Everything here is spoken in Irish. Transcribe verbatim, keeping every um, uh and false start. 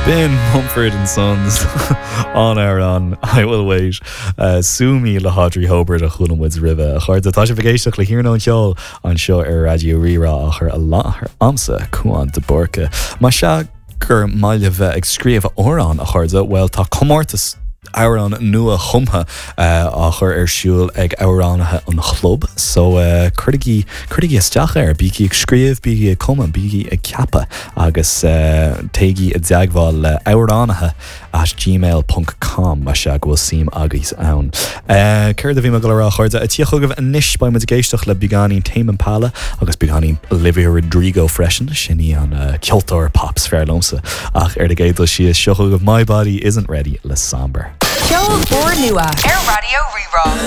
B'in Mumford and Sons an amhrán I will wait uh, Sue Me le hAudrey Hobart a chuala muid roimhe a chairde tá sibh ag éisteacht le hiarnóin cheoil anseo ar Raidió Rí-Rá á chur i láthair agamsa Cuan de Búrca. Más ea gur maith libh bheith ag scríobh amhrán a chairde, well tá comórtas amhrán nua chumtha uh, á chur ar siúl ag amhránaithe an chlub, so uh, cuirigí cuirigí isteach air, bígí ag scríobh bígí ag cumadh bígí ag ceapadh agus uh, téigí i dteagmháil le amhránaithe at gmail.com más ea go bhfuil suim agaibh ann. Uh, Céard a bhí mé ag rá a chairde a tí chugaibh anois beidh muid ag éisteacht le beagáinín Tame Impala agus beagáinín Olivia Rodrigo freisin sin í an uh, ceoltóir pop is fearr liomsa ach ar an gcéad dul síos seo chugaibh My Body Isn't Ready le Sombr. Ceol úrnua ar Raidió Rí-Rá.